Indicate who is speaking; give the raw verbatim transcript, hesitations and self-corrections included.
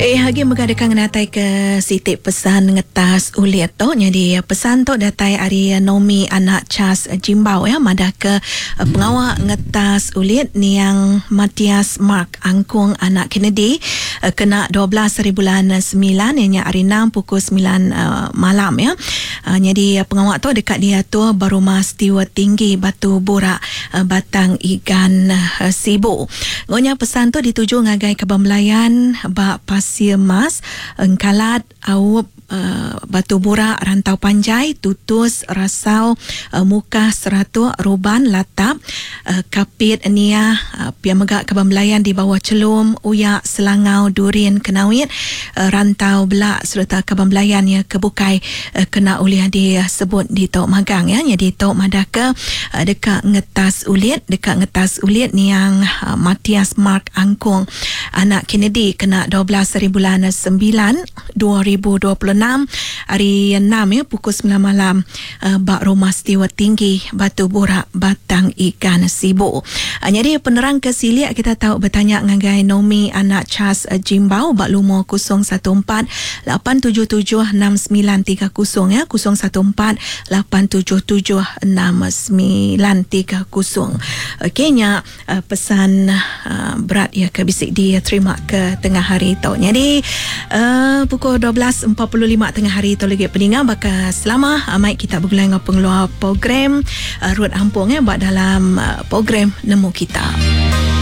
Speaker 1: Eh agi mega deka ngenatai ke siti pesan ngetas ulit tu. Jadi pesan tu datai ari Nomi anak Charles Jimbau ya, madah ke pengawa ngetas ulit niang Matias Mark Angkung anak Kennedy kena dua belas hari bulan sembilan ianya hari enam pukul sembilan uh, malam ya. Uh, jadi pengawa tu dekat diatur ba rumah Stewart Tinggi Batu Burak uh, Batang Igan uh, Sibu. Ngonya pesan tu dituju ngagai Kaban Belayan ba Pasir Mas, Engkalat, Aup, Uh, Batu Burak, Rantau Panjai, Tutus, Rasau, uh, Mukah, Seratuk, Ruban, Latap, uh, Kapit, Nia, uh, pia mega Kaban Belayan di bawah Celum, Uyak, Selangau, Durin, Kenawit, uh, Rantau Belak serta Kaban Belayan ya kebukai uh, kena ulih disebut di Tok Magang ya. Jadi Tok Madaka uh, dekat ngetas ulit, dekat ngetas ulit niang uh, Matias Mark Angkung anak Kennedy kena dua belas hari bulan sembilan dua ribu dua puluh enam hari enam ya pukul sembilan malam uh, bak rumah Stewart Tinggi Batu Burak Batang Ikan Sibu. Uh, jadi penerang ke siliak kita tahu bertanya ngagai Nomi anak Charles uh, Jimbau bak lumur kosong satu empat lapan tujuh tujuh enam sembilan tiga kosong ya, kosong satu empat lapan tujuh tujuh enam sembilan tiga kosong. Okey nya uh, pesan uh, berat ya ke bisik dia terima ke tengah hari tu. Jadi uh, pukul dua belas empat puluh lima tengah hari tu lagi peningan bakal selama uh, mai kita bergulai dengan pengeluar program uh, Ruth Ampong ya buat dalam uh, program Nemu Kita.